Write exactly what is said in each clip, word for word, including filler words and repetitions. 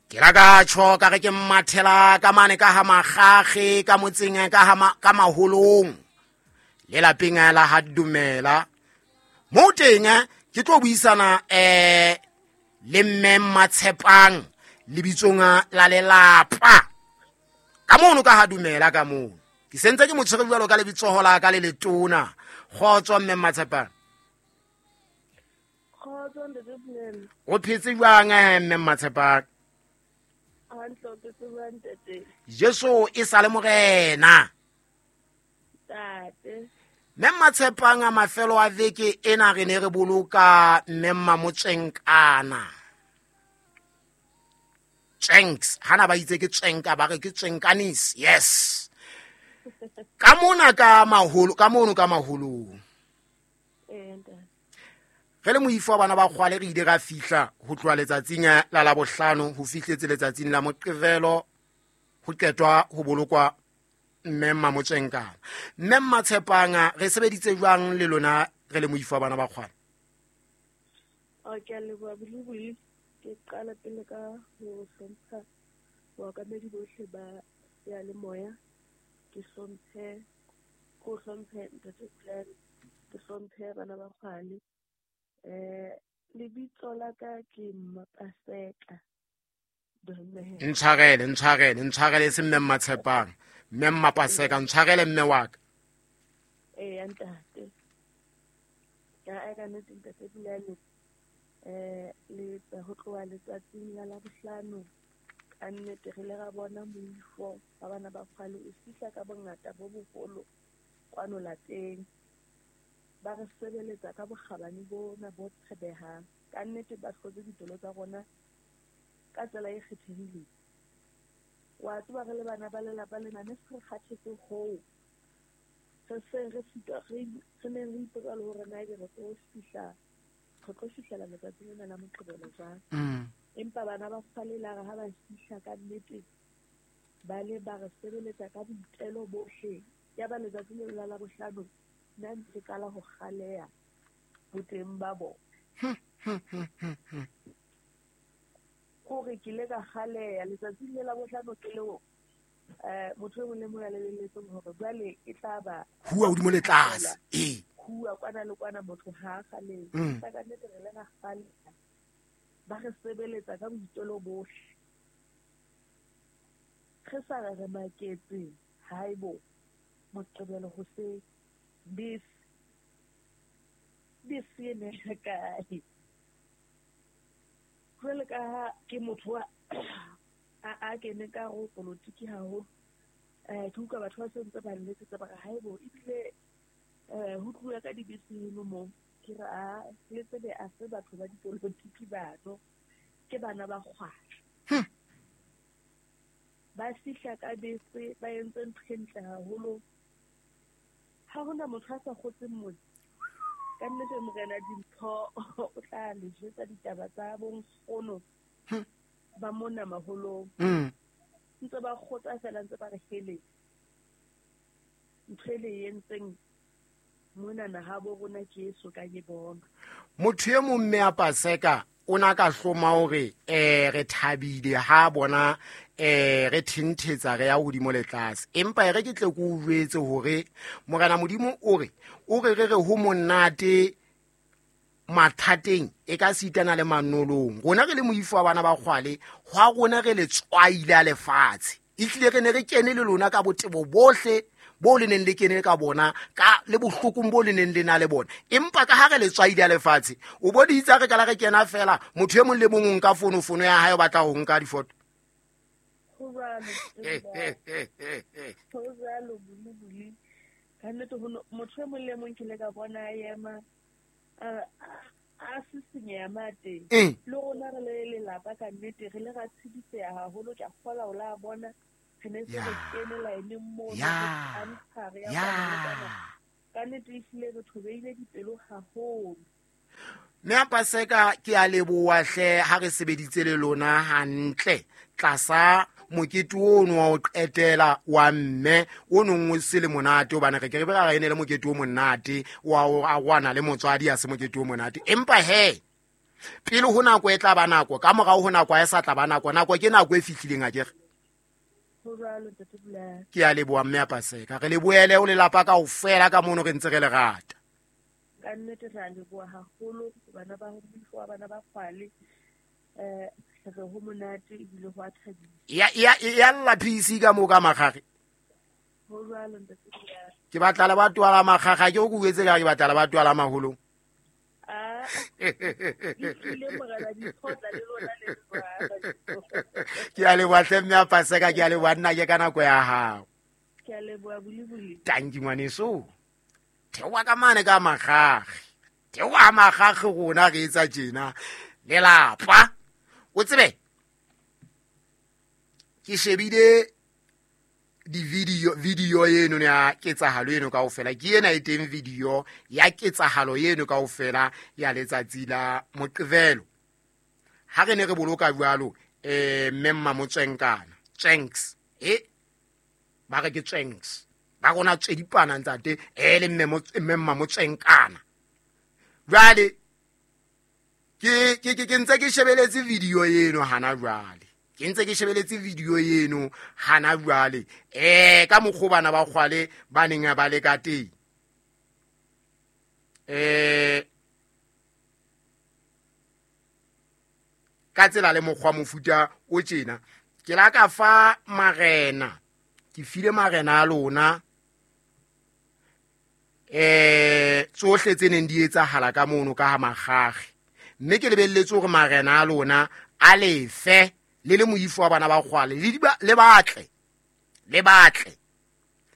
Ke la ka tjho ka re ke mmathela ka mane ka ha Makgakge ka motseng ka ha ka maholong le lapeng la ha Dumela. Mo teng ke tlo buisana eh le mme Mmatshepang lebitsong la lelapa. Ka mono ka ha Dumela ka mono. Ke sentse ke mo tshwere jwalo ka lebitsoho la ka le letona. Kgotso mme Mmatshepang. Kgotso ntate Puleng. O phetse jwang mme Mmatshepang? Hantle, o phetse jwang ntate? Jesu e sa le morena. Ntate. Mme Mmatshepang a mafelo a veke ena re ne re boloka mme Mmamotswenkana. Tsenks, hana ba itse ke tsenka ba re ke tsenkanis. Yes. Ka mona ka maholo, ka mono ka maholong. Eh ntate. Re le moifo wa bana ba kgwale re ile ra fihla ho tloha letsatsing la Labohlano ho fihletse letsatsing la Moqebelo ho qetwa ho bolokwa mme Mmamotswenkana. Mme Mmatshepang re sebeditse jwang le lona re le moifo wa bana ba kgwale? Okay, leboha Bulibuli. Ke qala pele ka ho hlompha baokamedi bohle ba seyalemoya. Ke hlomphe, ko hlomphe ntate Puleng, ke hlomphe bana ba kgwale. Eh lebitso la ka ke Mmapaseka. Ntshwarele, ntshwarele, ntshwarele se mme Mmatshepang. Mme Mmapaseka, ntshwarele mme wa ka. Eh ntate. Ya ka nnete ntate Puleng. Eh le ho tloha letsatsing la Labohlano ka nnete re le ra bona moifo ba bana ba kgwale o fihla ka bongata bo boholo kwano lapeng. Ba re sebeletsa ka bokgabane bona bo tshebehang. Ka nnete ba hlotse dipelo tsa rona ka tsela e kgethehileng. Wa tseba re le bana ba lelapa lena ne se re kgathetse hoo. Re se re sitwa re re neng re ipotsa le hore na ebe re tlo fihla re tlo fihlela letsatsing lena la Moqebelo jwang. Empa bana ba kgwale la re ha ba fihla ka nnete ba le ba re sebeletsa ka boitelo bohle. Ya ba letsatsi leo la Labohlano nna ntse qala ho kgaleha boteng ba bona. Hore ke ile ka kgaleha letsatsing le la Labohlano ke leo eh motho e mong le mong a lebelletseng hore jwale e tla ba hua hodimo le tlase. Eh hua kwana le kwana motho ha a kgalehe. Ka nnete re le ra kgaleha. Ba re sebeletsa ka boitelo bohle. Re sa re re maketse haebo Moqebelo hoseng bese bese e ne kae. Jwale ka ha ke motho wa a a kene ka ho politiki haholo, eh ke utlwa batho ba sentse ba nletsetsa ba re haebo ebile eh ho tluwa ka dibese eno mo. Ke re a le tsebe a se batho ba dipolotiki bano, ke bana ba kgwale. Ba fihla ka bese ba entse ntho e ntle haholo. Ha hona motho a sa kgotseng motse. Ka nnete morena Dimpho o tla le jwetsa ditaba tsa bonkgono ba mona maholong. Ntse ba kgotsa fela ntse ba re hele. Ntho e le entseng mona ha bo rona ke eso ka ke bona. Motho e mong mme a Paseka o na ka hloma hore eh re thabile ha bona eh re thenthetsa re ya hodimo le tlase. Empa e re ke tle ke o jwetse hore morena Modimo o re o re re re ho monate mathateng e ka sitana le manolong. Rona re le moifo wa bana ba kgwale hwa rona re le tswaile a lefatshe. Ehlile re ne re kene le lona ka botebo bohle bo le neng le kene ka bona ka le bohlokong bo le neng le na le bona. Empa ka ha re le tswaile a lefatshe o boditse re ka la re kena fela motho e mong le mong o nka fono fono ya hae o batla ho nka difoto. Ho jwalo, ho jwalo Bulibuli. Ka nnete ho motho e mong le mong ke le ka bona a ema a a sisinyeha mate. Le rona re le lelapa ka nnete re le ra tshediseha haholo. Ke a kgola ho la bona re ne se re kene line moo re ntsha re ya kwana. Ka nnete ehlile re thobehile dipelo haholo. Mme Paseka ke a leboha hle ha re sebeditse le lona hantle tlasa mokete ono wa ho qetela wa mme o nong o se le monate hobane re ke re be ra ene le mokete o monate wa ho arohana le motswadi a se mokete o monate. Empa he Pele ho nako e tla ba nako, ka morao ho nako ha e sa tla ba nako. Nako ke nako e fihlileng akere. Ho jwalo ntate Bulane. Ke a leboha mme ya Paseka. Re lebohele ho lelapa kaofela ka mono re ntse re le rata. Ka nnete re a leboha haholo bana ba moifo wa bana ba Kgwale. Eh re ho monate ebile ho a thabisa. Ya ya ya lla P C ka moo ka Makgakge. Ho jwalo ntate Bulane. Ke batla le batho ba Makgakge, ke o ke uetse ka ke batla le batho ba maholong. Ah. Ke a leboha hle mme ya Paseka, ke a leboha nna ke ka nako ya hao. Ke a leboha boliboli. Tanki ngwaneso. Theoha ka mane ka Makgakge. Theoha Makgakge rona re etsa tjena. Lelapa. O tsebe? Ke shebile di video video eno ya ketsahalo eno kaofela. Ke ena e teng video ya ketsahalo eno kaofela ya letsatsi la Moqebelo. Ha re ne re boloka jwalo eh mme Mmamotswenkana Tsenks e ba re ke Tsenks ba rona tsedipana ntate e le mme mme Mmamotswenkana. Jwale ke ke ke ntse ke shebeletse video eno hana jwale. Ke ntse ke shebeletse video eno hana jwale. Eh ka mokgwa bana ba Kgwale ba neng ba le ka teng. Eh ka tsela le mokgwa mofuta o tjena ke la ka fa marena, ke file marena a lona eh tsohle tse neng di etsahala ka mono ka ha Makgakge, mme ke lebelletse hore marena a lona a lefe le le moifo wa bana ba Kgwale le le batle le batle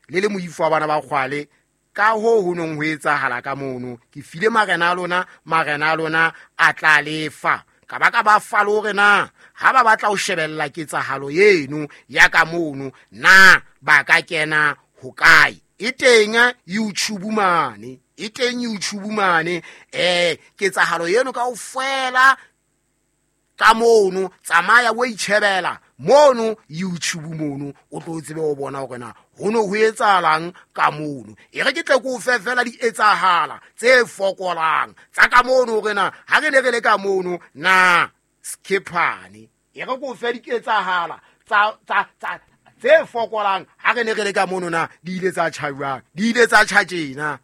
le le moifo wa bana ba Kgwale ka ho ho nong ho etsahala ka mono. Ke file marena a lona, marena a lona a tla lefa ka ba ka ba fa le hore na ha ba batla ho shebella ketsahalo eno ya ka mono na ba ka kena hokae. E teng YouTube mane, e teng YouTube mane eh ketsahalo eno kaofela ka mono, tsamaya o itjhebela mono YouTube mono, o tlo tsebe o bona hore na ho no ho etsahalang ka mono. E re ke tle ke o fe fela di etsahala tse fokolang tsa ka mono hore na ha re ne re le ka mono na skiphane. E re ke o fe diketsahala tsa tsa tsa tse fokolang ha re ne re le ka mono na di ile tsa tjha jwang, di ile tsa tjha tjena.